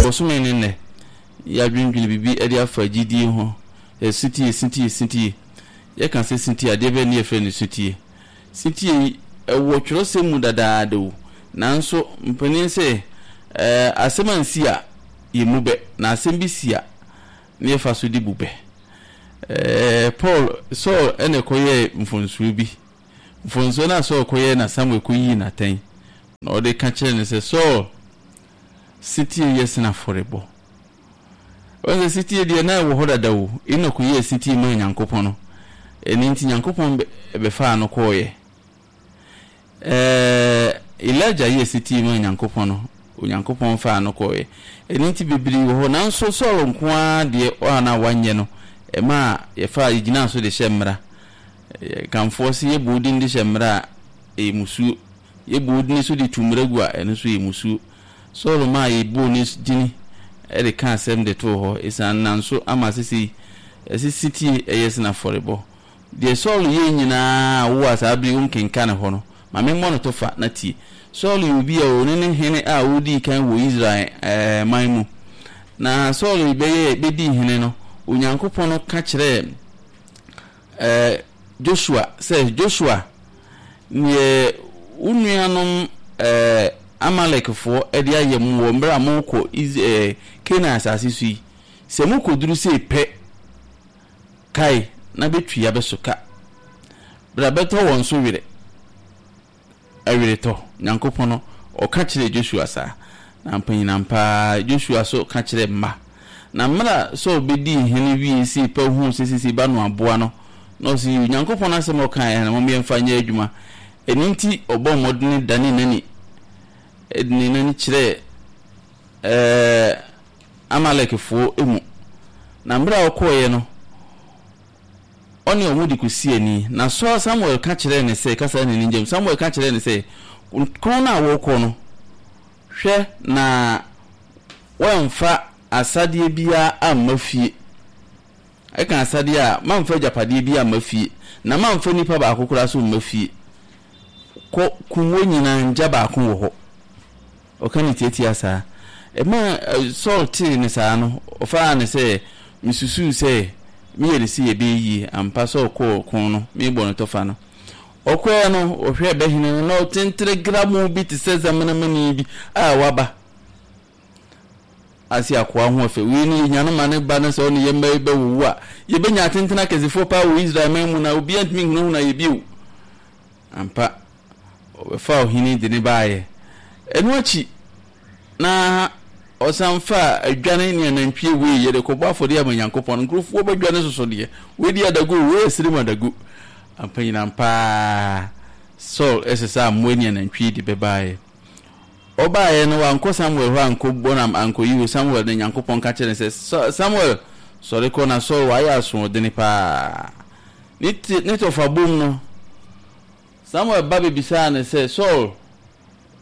Bosome ne nnɛ, yɛadwendwene biribi de afa gyidie ho. Setie, setie, setie. Yɛka sɛ setie a, adeɛ bɛn ne yɛfrɛ no setie? Setie yi, ɛwɔ twerɛsɛm mu dadaada o, nanso mpanin sɛ, ɛɛ, asɛm ansi a, yɛmmu bɛ, na asɛm bi si a, na yɛfa so de bu bɛ. Ɛɛ, Paul, Saul na ɛkɔyɛɛ mfomsoɔ bi. Mfomsoɔ no a Saul kɔyɛɛ na Samuel kɔyii no atɛn, na ɔde ka kyerɛɛ no sɛ, Saul, setie yɛ sene afɔrebɔ. Wɔn sɛ setie deɛ na ɛwɔ hɔ dada o, Enoch yɛɛ setie maa Nyankopɔn no, ɛno nti Nyankopɔn bɛfaa no kɔɔeɛ. Ɛɛ, Elijah yɛɛ setie maa Nyankopɔn no, Onyankopɔn faa no kɔeɛ. Ɛno nti bebree wɔ hɔ, nanso Saul nko ara deɛ a na wanyɛ no, ɛmaa yɛfaa, yɛgyinaa so de hyɛ mmara. Kamfoɔ se yɛbɔ wo din de hyɛ mmara a, ɛyɛ musuo. Yɛbɔ wo din nso de tu mmara gu a, ɛno nso yɛ musuo. Saul maa yɛbɔɔ ne dini de kaa asɛm de too hɔ, ɛsiane nanso ama sesei ɛse setie yɛ sene afɔrebɔ. Deɛ Saul yɛe nyinaa a wowɔ a saa bere yi wonkenkan hɔ no, ma memmɔ no tofa na tie. Saul yɛ obi a ɔno ne hene a ɔdii kan wɔ Israel man mu. Na Saul bɛyɛɛ bɛdii hene no, Onyankopɔn ka kyerɛɛ Joshua sɛ, Joshua, neɛ wo nuanom Amalekfoɔ de ayɛ mo wɔ mmerɛ a morekɔ Kanaan asase so yi, sɛ mokɔduru sei pɛ, Kae na betua bɛ so ka. Bra bɛtɔ wɔn so werɛ, aweretɔ. Nyankopɔn ɔka kyerɛɛ Joshua saa. Na ampanyinampa ara Joshua so ka kyerɛɛ mma. Na mmerɛ a Saul bɛdii hene wiee sei pɛ ohuu sɛ seisei ba no aboa no, na ɔse, Yiw, Nyankopɔn asɛm a ɔkaeɛ no, mom yɛmfa nyɛ adwuma. Ɛno nti ɔbɔɔ mmɔdene danee n'ani, de n'ani kyerɛɛ ɛɛ. Amalekfoɔ mu. Na mmerɛ a ɔkɔeɛ no, ɔne wɔn de kɔsii ani. Na Saul, Samuel ka kyerɛɛ no sɛ, kasa ne ne gyam, Samuel ka kyerɛɛ no sɛ, Kɔn no a worekɔ no, hwɛ na woamfa asadeɛ biara amma fie. Ɛka asadeɛ a, mamfa agyapadeɛ biara amma fie, na mamfa nipa baako koraa nso amma fie. Kɔ, kum wɔn nyinaa, ngya baako wɔ hɔ. Ɔka no tiatia saa. Ɛmaa Saul tee no saa no, ɔfaa no sɛ, Misusuw sɛ meyɛ no sei a ɛbɛyɛ yie. Ampa, Saul kɔɔ ɔko no, merebɔ no tɔfa no. Ɔkɔeɛ no, ɔhwɛɛ bɛhene no, na ɔtentere gramoo bi te sɛ zamanamani bi a waba ase akoa ho ɔfɛ. Wei no, yɛnya no ma ne ba no sɛ ɔne yɛn mma yi bɛwowo a, yɛbɛnya atentene akɛsefoɔ paa wɔ Israel man mu na obiara ntumi nhunahuna yɛn bio. Ampa, ɔbɛfaa ɔhene de no baeɛ. Ɛno akyi na ɔsan faa adwane ne anantwie wei yɛde kɔbɔ afɔdeɛ ama Nyankopɔn. Nkurɔfoɔ bɛdwane soso deɛ, wei deɛ adago, wei yɛ serem adago. Ampa nyina ampa ara Saul sesaa mmoa ne anantwie de bɛbaeɛ. Ɔbaeɛ no wankɔ Samuel hɔ ankɔbɔ no ankɔyi o Samuel na Nyankopɔn ka kyerɛɛ no sɛ, Samuel, sɔre kɔ na Saul wayɛ asoɔdene paa. Ne ti ne tɔfabom no, Samuel ba bɛbisaa no sɛ, Saul,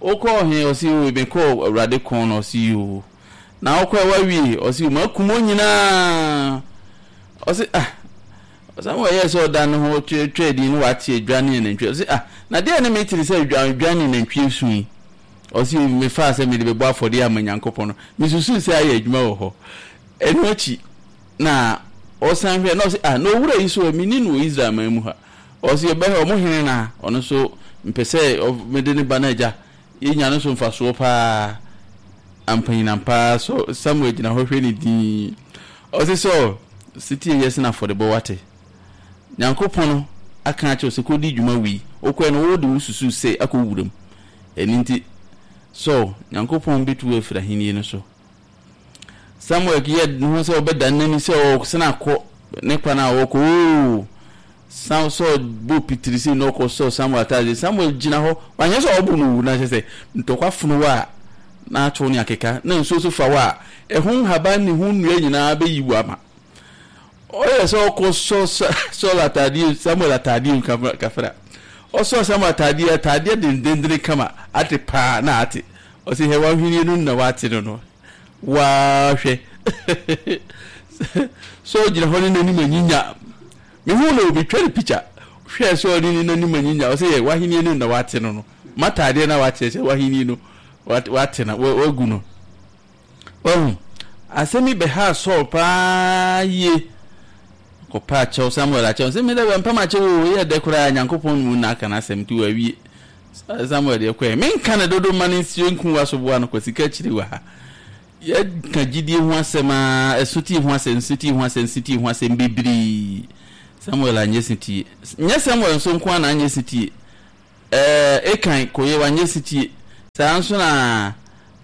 wokɔɔ he? Ɔse, Oo, mekɔɔ Awurade ko no. Ɔse, Yoo, na wokɔɛ woawie? Ɔse, Oo, makum wɔn nyinaa. Ɔse, Ah! Samuel yɛɛ sɛ ɔda ne ho twaa din no wate adwa ne anantwie. Ɔse, Ah, na deɛ ne mete ne sɛ adwa ne nantwie su yi? Ɔse, Oo, mefaa sɛ mede bɛbɔ afɔdeɛ ama Nyankopɔn no, mesusuu sɛ ayɛ adwuma wɔ hɔ. Ɛno akyi, Na ɔsan hwɛ, na ɔse, Ah, na owura yi so ɛ, menni no wɔ Israel man mu ha. Ɔse, Yɛbɛhwɛ ɔmo hene no a, ɔno nso mepɛ sɛ mede no ba no agya, yɛnya no so mfasoɔ paa. Ampanyinampa ara so Samuel gyina hɔ hwɛ no dinn. Ɔse, Saul, setie yɛ sene afɔrebɔ, wate? Nyankopɔn aka akyerɛ wo sɛ kɔdi dwuma wei, wokɔɛ no wode wo susuu sɛ akɔ wuram. Ɛno nti, Saul, Nyankopɔn bɛtu wo afiri ahennie no so. Samuel yɛ ne ho sɛ ɔbɛdan n'ani sɛ ɔresan akɔ ne kwan a ɔrekɔ. Oo! Saul bɔ pitiri sei na ɔkɔ sɔ Samuel atade. Samuel gyina hɔ, wanyɛ sɛ ɔbɔ no wu na kyerɛ sɛ ntɔkwa fono wo a na ato ne akeka na nsuo nso fa wo a ɛho nhaban ne ho nnua nyinaa bɛyi wo ama. Ɔyɛ sɛ ɔkɔ sɔ Saul ataadeɛ Samuel ataadeɛ mu kafra. Ɔsɔ Samuel ataadeɛ ataadeɛ dendendene kama ate paa na ate. Ɔse hɛ w'ahweneɛ no na w'ate no no waa hwɛ Saul gyina hɔ ne n'anim anyinya mehu no metwa ne picture hwɛ Saul ne n'anim anyinya ɔse yɛ w'ahweneɛ no na w'ate no no m'ataadeɛ na w'ate sɛ w'ahweneɛ no w'ate na w'agu no. Wahu? Asɛm yi bɛhaa Saul paa yie. Kɔpaa kyɛw, Samuel akyɛw sɛ, Me deɛ mpa m'akyɛw o, wei yɛ dɛ koraa, Nyankopɔn mu na aka n'asɛm nti wawie. Samuel deɛ kɔɛ, menka ne dodo mma no nsuo nku w'asoboa no, Kwasi ka akyire wɔ ha. Yɛka gyidie ho asɛm ara, ɛsotie ho asɛm, sotie ho asɛm, sotie ho asɛm bebree. Samuel anyɛ sotie. Nyɛ Samuel nso nko ara na anyɛ sotie. Ɛɛ, Akan kɔyɛ wanyɛ setie. Saa ara nso na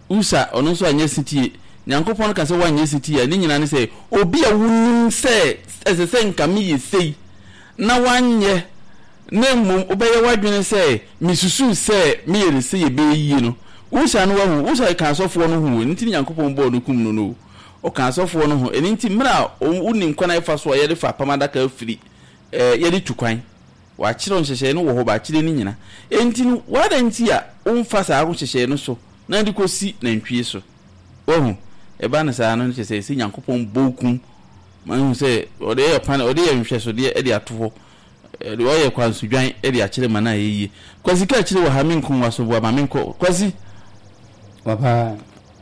Usa, ɔno nso anyɛ setie. Nyankopɔn ka sɛ wanyɛ setie a, ne nyinaa ne sɛ, obi a wonim sɛ ɛsɛ sɛ nka meyɛ sei na wanyɛ, na mmom wobɛyɛ w'adwene sɛ mesusuw sɛ meyɛ no sei ɛbɛyɛ yie no. Usa no wahu, Usa ka asɔfoɔ no ho o, ɛno nti na Nyankopɔn bɔɔ no kum no no o. Ɔka asɔfoɔ no ho, ɛno nti mmerɛ a wonim kwan a ɛfa so a yɛde fa apam adaka firi, ɛɛ, yɛde tu kwan. Wɔakyerɛw nhyehyɛe no wɔ hɔ baakyerɛ no nyina. Enti no, adɛn nti a womfa saa nhyehyɛe no so na de kosi nantwie so? Wahu? Ɛba no saa no, kyerɛ sɛ ɛsɛ Nyankopɔn bɔ wo kum ma ehu sɛ ɔde yɛ kwan, ɔde yɛ nhwɛsodeɛ de ato hɔ, ɔde ɔyɛ kwansodwan de akyerɛ ma no ayɛ yie. Kwasi ka akyire wɔ ha, menku w'asoboa, ma menkɔ. Kwasi! Papa.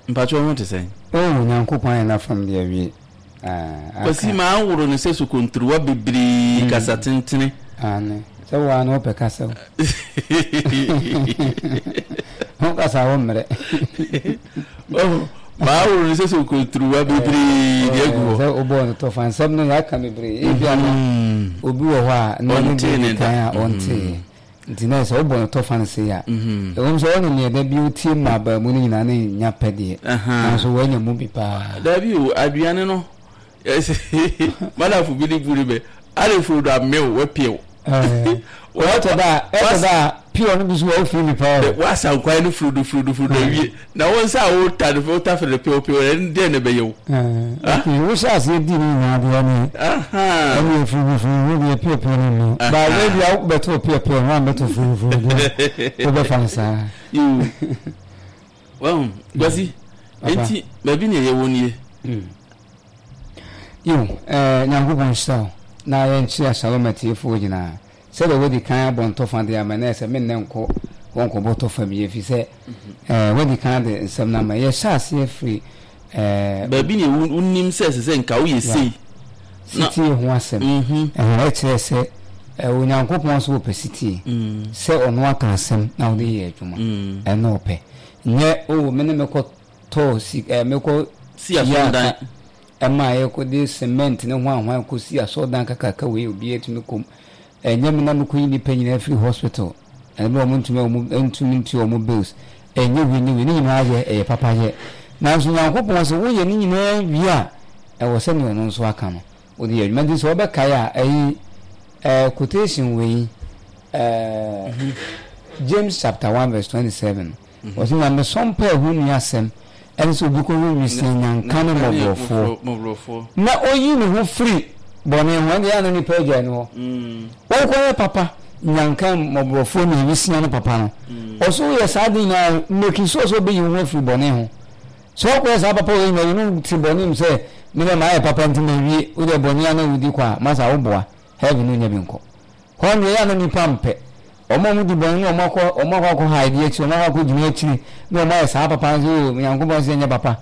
Mpakyɛ wo ho te sɛn? Oh, Nyankopɔn ayɛ n'afam de awie. Kwasi maa woro no sɛ sokonturuwa bebree kasa tentene. Aane, sɛ wo ara na wopɛ kasa o. Wo kasa wo mmerɛ. Oh, maa woro no sɛ sokonturuwa bebree de agu hɔ. Sɛ wobɔɔ no tɔfa nsɛm no yɛaka bebree. Ebia na obi wɔ hɔ a na ne deɛ di kan a ɔnteeɛ. Nti na sɛ wobɔ no tɔfa no sei a, ɛwom sɛ ɔne neɛ da bi wotie mmaabaa mu no nyinaa ne nya pɛ deɛ, nanso wanya mu bi paa. Dabi o, aduane no, madamfo bi ne bu ne bɛ, ade fo do amew, wapiaw. Ɛtɔ da a, ɛtɔ da a, pure no bi so wɔ ofiri mi paa o. Wasa nkwan no furudu furudu furudu awie, na wo nsa a wota no wotafere no pew pew, ɛno deɛ na ɛbɛyɛ wo. Okay, wohyɛ aseɛ di ne nyinaa deɛ ɛne ɛne furufuru wo deɛ pure pure no no. Ba ebi a wobɛto pure pure no wambɛto furufuru deɛ wobɛfa no saa. Wahu, Kwasi, enti baabi ne ɛyɛ wɔ nie. Yo, Nyankopɔn nhyira wo na yɛnkyea Shalom atiefoɔ nyinaa. Sɛdeɛ woadi kan abɔ ntɔfa de ama, na ɛsɛ me nnɛ nkɔ hɔ nkɔbɔ tɔfa bio, ɛfiri sɛ woadi kan de nsɛm no ama. Yɛhyɛ aseɛ firi. Baabi ne wonim sɛ ɛsɛ sɛ nka woyɛ sei. Setie ho asɛm. Ɛkyerɛ sɛ Onyankopɔn nso wɔpɛ setie, sɛ ɔno aka asɛm na wode yɛ adwuma. Ɛno ɔpɛ. Nyɛ o me ne mekɔ tɔɔ si mekɔ si asɔredan. Ɛma yɛkɔde cement ne hwanhwan kɔsi asɔredan kakraka wei obiara tumi kɔ mu. Ɛnyɛ me na mekɔyi nnipa nyinaa firi hospital ɛberɛ a wɔntumi wɔn ntumi ntua wɔn bills. Ɛnyɛ wei nyɛ wei ne nyinaa yɛ ɛyɛ papa yɛ. Nanso Nyankopɔn sɛ woyɛ ne nyinaa wie a ɛwɔ sɛ nea ɔno nso aka no wode yɛ adwuma. Nti sɛ wobɛkae a ɛyi ɛɛ quotation wei ɛɛ James chapter 1 verse 27. Ɔse nyamesom pa ɛho nni asɛm ɛne sɛ obi kɔhwɛ nwisiaa nyanka ne mmɔborɔfoɔ na ɔyi ne ho firi bɔne ho, ɛnde ɛyɛ a na nipa agyae no hɔ. Wokɔyɛ papa nyanka mmɔborɔfoɔ ne nwisiaa ne papa no, ɔse woyɛ saa ade nyinaa make sure sɛ wobɛyi wo ho afiri bɔne ho. Sɛ wokɔyɛ saa papa wei nyinaa yi no te bɔne mu sɛ medeɛ mayɛ papa nti mawie, wodeɛ bɔne a na wodi kɔ a masa woboa heaven no nya bi nkɔ. Hɔ no, ɛyɛ a na nnipa mpɛ. Wɔn a wɔdi bɔne no, wɔakɔ, wɔakɔ akɔ hide akyiri, wɔakɔ akɔgyina akyiri, na wɔayɛ saa papa no sɛ, oh, Onyankopɔn sɛ nyɛ papa.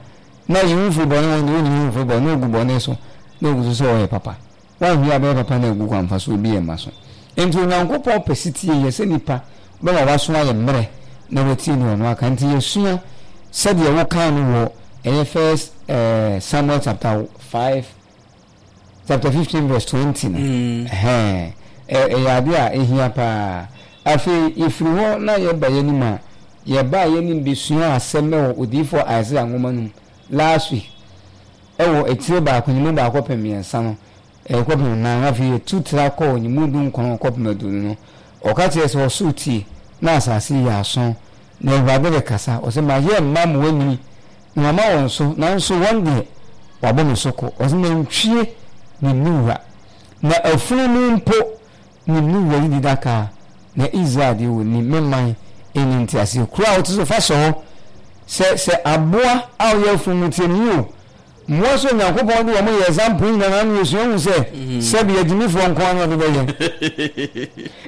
Na yi wo firi bɔne ho, deɛ ɔnyi wo mfiri bɔne, na ɔgu bɔne so, na ɔgu so sɛ ɔyɛ papa. Woanhwɛ a bɛyɛ papa na agu kwa, mfasoɔ biara mma so. Enti Onyankopɔn pɛ setie yɛ sɛ nipa bɛma w'aso ayɛ mmerɛ na watie deɛ ɔno aka. Nti yɛsua sɛdeɛ wokan no wɔ ɛyɛ First eh, Samuel chapter 5 chapter 15 verse 20 no ɛhɛn ɛyɛ adeɛ a ɛhia paa. Afei yɛfiri hɔ na yɛba yɛnim a, yɛbaa yɛnim bɛsua asɛm wɔ odiyifoɔ Isaiah nwoma no mu last week ɛwɔ etire baako nyimu baako kɔpem mmiɛnsa no ɛkɔpem nnan, na afei yɛtu tra kɔɔ nyimu dunkron kɔpem aduonu no. Ɔka kyerɛ sɛ ɔsoro tie na asase yɛ aso na Awurade rekasa, ɔsɛ mayɛ mma ma wɔanyini Na mama wɔn so, nanso wɔn deɛ, wɔabɔ me so ko. Ɔse, Nantwie nim ne wura, na afunumu mpo nim ne wura dididaka, na Israel deɛ wɔnnim, me man nni nteaseɛ. Kuro a wote so, fa hyɛ hɔ sɛ, sɛ aboa a ɔyɛ afunumu tie me o. Mmoa nso Onyankopɔn de wɔn yɛ example nyinaa na ano yɛsua hu sɛ sɛbi agyimifoɔ nko ara na ɔde bɛyɛ.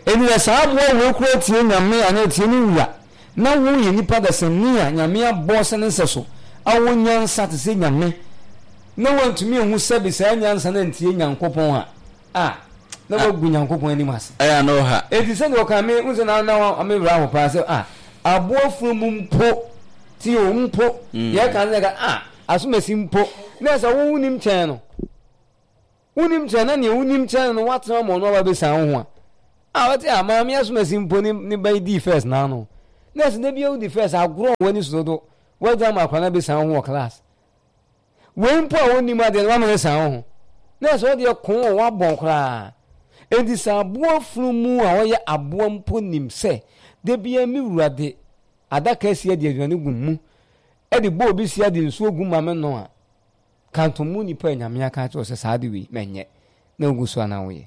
Enti sɛ saa aboa wei koraa tie Nyame anaa tie ne wura, Na wo yɛ nipa dasani a Nyame abɔ sɛ ne nsɛso a. Awɔ nyansa te sɛ Nyame na wantumi anhu sɛbe saa nyansa no antie Nyankopɔn a, a, na wagu Nyankopɔn anim ase. Ɛyɛ a na ɔha. Enti sɛdeɛ ɔkaa me, wohu sɛ na na me werɛ aho paa sɛ, ah, aboa funu mu mpo, tie o, mpo, deɛ ɛka no sɛ ɛka, ah, asomasi mpo, na ɛsɛ wo wonim kyɛn no. Wonim kyɛn na nea wonim kyɛn no woatena ama ɔno aba abɛsiane wo ho a, a wɔte a maame asomasi mpo ne ne ba yi dii first n'ano. Na ɛsɛ da biara wodi first agorɔ wɔ w'ani so dodo, woagya ama akwadaa no abɛsiane wo ho wɔ class. Wei mpo a wonnim adeɛ no woama no asiane wo ho. Na ɛsɛ wodeɛ ko o woabɔn koraa. Enti sɛ aboa funumu a ɔyɛ aboa mpo nim sɛ da biara me wura de adaka asi de aduane gu mu de bɔ obi sia de nsuo gu ma me no a, Kanto mu nnipa a Nyame aka akyerɛ wo sɛ saa ade wei mɛnyɛ na wogu so a na woyɛ.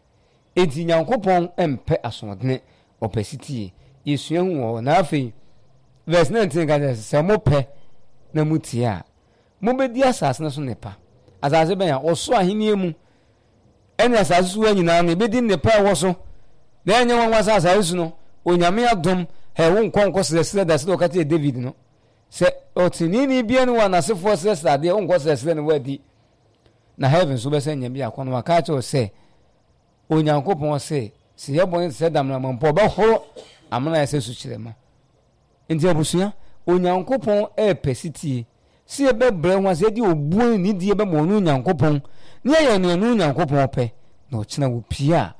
Enti Nyankopɔn mpɛ asoɔdene, ɔpɛ setie. Yɛsua hu wɔ hɔ. Na afei, verse 19 ka kyerɛ sɛ, sɛ mopɛ na motie a, mobɛdi asase no so nnepa. Asase bɛn a? Ɔsoro ahennie mu ɛne asase so ha nyinaa no, yɛbɛdi nnepa a ɛwɔ so. Na ɛnyɛ nwanwa sɛ asase so no, Onyame adom, hɛ, wonkɔ nkɔ srɛsrɛ da sɛdeɛ ɔka kyerɛɛ David no. Sɛ ɔtreneeni biara nni hɔ a n'asefoɔ srɛsrɛ adeɛ, wonkɔ srɛsrɛ no woadi. Na heaven nso wobɛsɛ nya biako no, waka akyerɛ wo sɛ, Onyankopɔn se, sɛ yɛ bɔne te sɛ damena mpo a, ɔbɛhoro amena ayɛ sɛ sukyerɛma. Nti abusua, Onyankopɔn repɛ setie, sɛ yɛbɛbrɛ ho ase, yɛde obuo ne nidie bɛma ɔno Onyankopɔn, na yɛayɛ nea ɔno Onyankopɔn pɛ, na ɔkyena wɔpie a,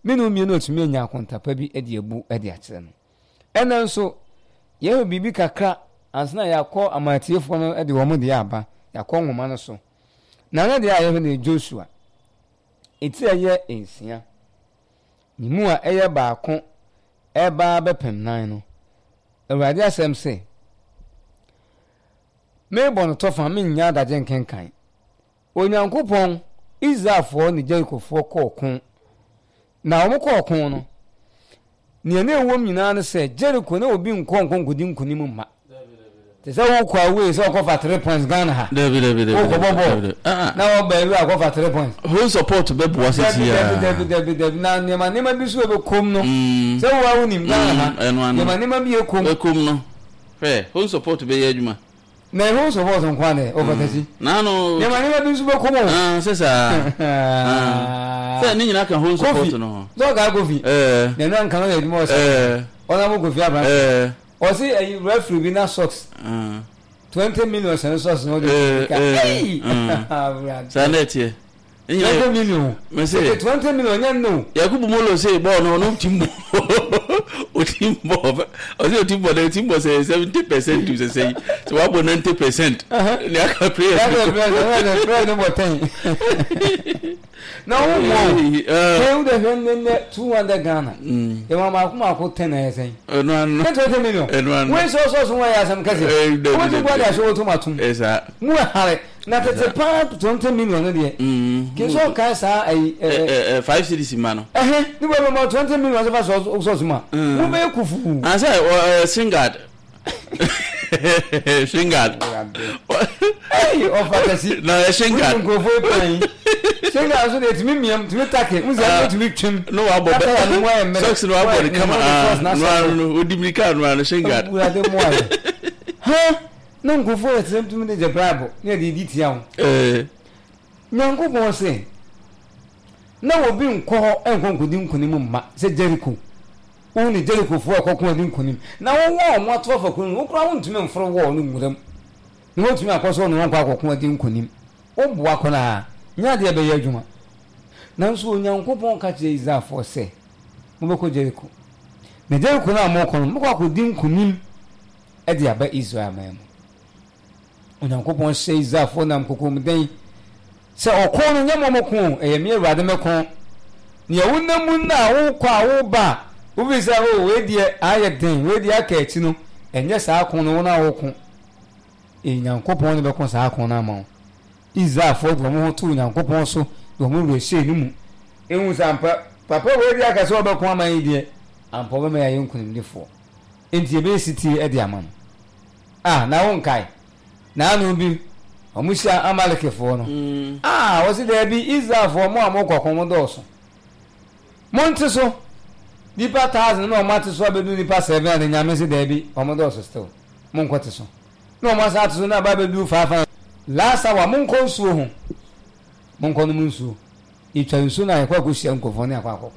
me ne wo mmienu atumi anya akontapa bi de abu de akyerɛ no. Ɛnnɛ nso, yɛhwɛ biribi kakra ansa na yɛakɔ ama atiefoɔ no de wɔn deɛ aba, yɛakɔ nwoma no so. Na ne deɛ a yɛhwɛ no yɛ Joshua, etiri a ɛyɛ nsia, ne mu a ɛyɛ baako ɛreba abɛpem nan no, Awurade asɛm se, Merebɔ no tɔfa, mennya adagye nkenkan. Onyankopɔn, Israelfoɔ ne Jerikofoɔ kɔɔ ko. Na wɔkɔɔ ko no, nea na ɛwom nyinaa ne sɛ Jeriko na obi nkɔ nkɔ nkɔdi nkonim mma. Te sɛ wokɔ away sɛ ɔkɔfa three points Ghana ha. Dabi dabi dabi. Wokɔbɔ bɔɔl ah, ah. na wɔba awia akɔfa three points. Home support bɛboa sisi ya. Dabi dabi dabi dabi na nneɛma nneɛma bi so ɛbɛkɔm no. Mm. Sɛ wo a wonim Ghana ha. Mm, nneɛma nneɛma bi ɛkɔm. Ɛkɔm no. Hwɛ home support bɛyɛ adwuma. Na ɛho nso bɔɔso nko ara dɛ, ɔfata si. Naano. Nneɛma nneɛma bi nso bɛkɔ mu o. Ah, sɛ saa. Ah, sɛ ne nyinaa ka ho support no ho. Kofi, sɛ ɔkaa Kofi. Ɛɛ. Na ɛno anka no yɛ adwuma ɔsɛ. Ɛɛ. Ɔnam Kofi Abraham. Ɛɛ. Ɔsi ɛyi referee bi na socks. 20 million sɛ socks na ɔde sika. Ɛɛ. Saa na ɛteɛ. 20 million. Mese. 20 million nyɛ no. Yakubu Molo se bɔɔl no ɔno ti mbɔ oti mbɔ ɔsɛ oti mbɔ na oti mbɔ sɛ 70% sɛ sɛ yi sɛ wabɔ 90% ne aka players. Aka players ɛna players no bɔ 10. Na wo mɔ o. Ṣé wo de hwɛ nnɛ nnɛ 200 Ghana. Yɛ ma maako maako 10 na yɛ sɛn. Ɛnu ano. Ne 20 million. Ɛnu ano. Wei sɛ ɔsɔ so wɔn yɛ asɛm kɛse. Wọ́n ti bu adi ahyɛ wọ́n tó ma tum. Ɛsa. Mu ɛhare. Na tete paa 20 million no deɛ. Kì í sọ kan saa ayi. Ɛ ɛ 5 cedis ma no. Ɛhɛn ne bɛ bɛ ma 20 million sɛ fa sɔ sɔ so ma. Mo bɛ yɛ kufu. Ansɛ ɔ ɛ singad. Singad. Ɛyi ɔfa kɛse. Na ɛ singad. Wọ́n nkurɔfoɔ yi pan yi. Singad nso deɛ tumi miam tumi take n sɛ ɛno tumi twem. No wa bɔ bɛ socks no wa bɔ ne kama aa no ano no odi mirika no ano singad. Awurade mo ayɛ. Hɛn. Na nkurɔfoɔ yɛ tena tumi de gye bribe ne yɛde di tia wo. Nyankopɔn se, na obi nkɔ hɔ nkɔ nkɔdi nkonim mma sɛ Jericho. Wo ne Jerichofoɔ ɛkɔko adi nkonim. Na wowɔ wɔn ato afa kuro no, wo koraa wontumi mforo wɔɔ no nwuram. Na woatumi akɔ so ne wɔn kɔ akɔko adi nkonim. Woboa koraa, nyɛ adeɛ ɛbɛyɛ adwuma. Nanso Onyankopɔn ka kyerɛ Israelfoɔ sɛ, mobɛkɔ Jericho. Na Jericho no a mokɔ no, mobɛkɔ akɔdi nkonim de aba Israel man mu. Onyankopɔn hyɛ Israelfoɔ nam kokomden sɛ ɔko no nyɛ mo mo ko, ɛyɛ me Awurade me ko. Nea wonam mu no a wokɔ a woba a wofi sɛ o oh, wei deɛ ayɛ den, wei deɛ aka akyi no, ɛnyɛ saa ko no wo na woko. Ɛyɛ Nyankopɔn na bɛko saa ko no ama wo. Israelfoɔ de wɔn ho too Nyankopɔn so de wɔn werɛ hyɛɛ ne mu. Ehu sɛ ampa papa wei deɛ aka sɛ ɔbɛko ama yi deɛ ampa ɔbɛma yɛayɛ nkonimdifoɔ. Enti yɛbɛyɛ setie de ama no. Ah, na wonkae? Naano bi, wɔhyiaa Amalekfoɔ no. Ah, wɔse, Daabi, Israelfoɔ, mo a mokɔ ko, modɔɔso. Monte so! Nnipa thousand na wɔate so abɛduru nnipa 700, Nyame se, Daabi, wɔdɔɔso still. Monkɔte so. Na wɔn asan ato so na aba abɛduru 500. Last hour, monkɔ nsuo ho. Monkɔ nom nsuo. Yɛtwa nsuo no a yɛkɔ akɔhyia nkurɔfoɔ ne akɔ akɔko.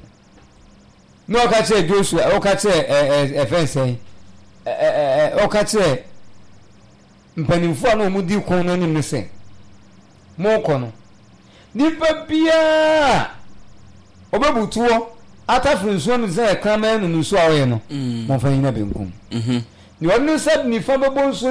Na ɔka kyerɛ Joshua, ɔka kyerɛ ɛɛ ɛfɛn sɛn, ɛɛ ɔka kyerɛ mpanimfoɔ a na wɔn di ko no anim no sɛ, mokɔ no, nipa biara ɔbɛbutuɔ atafere nsuo no sɛ ɛkraman no nsuo a ɔyɛ no, mm. momfa nyina benkum. Mhm. Nea ɔde ne nsa nifa bɛbɔ nsuo.